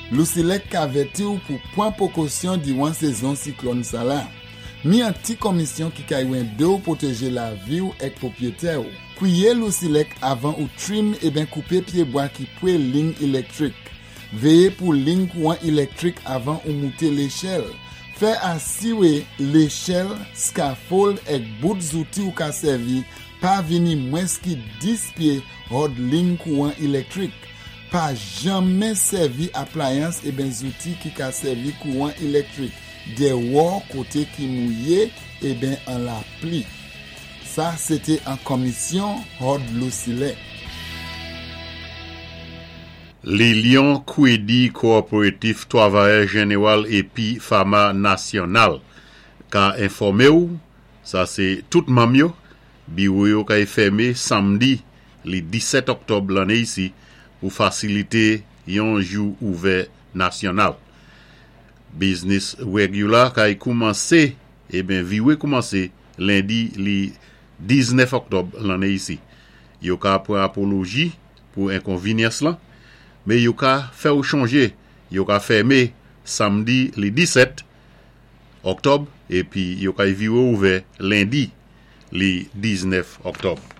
Lousilèk ka vèti ou pou pwan pwékosyon diwan sézon siklòn sala. Mi an ti konmisyon ki kay wendé ou pwotéjé lavi ou èk pwopwétè ou. Kwiyé Lousilèk avan ou trim eben koupé pyébwa ki pwé ling ilèktrik. Véyé pou ling kouwan ilèktrik avan ou mouté léchèl. Fè asiwé léchèl, scaffold èk bout zouti ou ka sèvi pa vini mwens ki 10 pyé hòd ling kouwan ilèktrik. Pa janmen sèvi aplayans eben zouti ki ka sèvi kouwan ilèktrik dèwò koté ki mouyé eben an lapli. Sa sété an konmisyon hòd Lousilèk. Lilyon Kwédi Kowoperatif Twavayè Jenewal épi Fama Nasyonal ka enfòmé ou, sa sé tout manm yo, biwo yo kay fème samdi li 17 òktòb lanné isi pou fasilité yon jou ouvè nasyonal. Biznis regular kay koumansé eben viwé koumansé lendi li 19 òktòb lanné isi. Yo ka pran apoloji pou enkonvinyans lan, men yo ka fè w chonje yo ka fème samdi li 17 òktòb epi yo kay vire ouvè lendi li 19 òktòb.